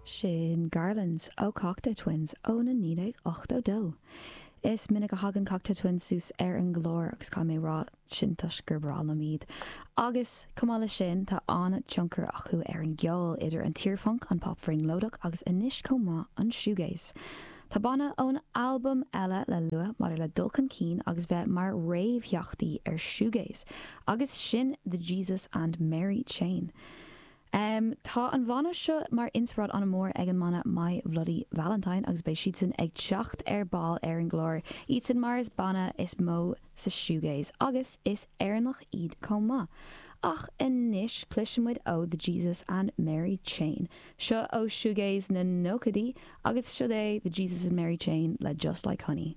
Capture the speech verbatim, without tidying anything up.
Sin Garlands ó Cocteau Twins ó na naoi déag ochtó dó. Is minic a thagann Cocteau Twins suas ar an gclár agus caithfidh mé rá sin toisc gur breá liom iad. Agus chomh maith leis sin tá an-tionchar acu ar an gceol idir an t-iarphunc, an pop bhrionglóideach agus anois chomh maith an shoegaze. Tá banna ón albam eile le lua maidir le dul chun cinn agus bheith mar réamhtheachtaí ar shoegaze agus sin The Jesus and Mary Chain. Um, tá an bhanna seo mar inspioráid an-mhór ag an mbanna My Bloody Valentine agus beidh siadsan ag teacht ar ball ar an gclár iadsan mar is banna is mó sa shoegaze agus is Éireannach iad chomh maith. Ach anois cloisfimid ó The Jesus and Mary Chain. Seo ó shoegaze na nóchaidí agus seo é The Jesus and Mary Chain le Just Like Honey.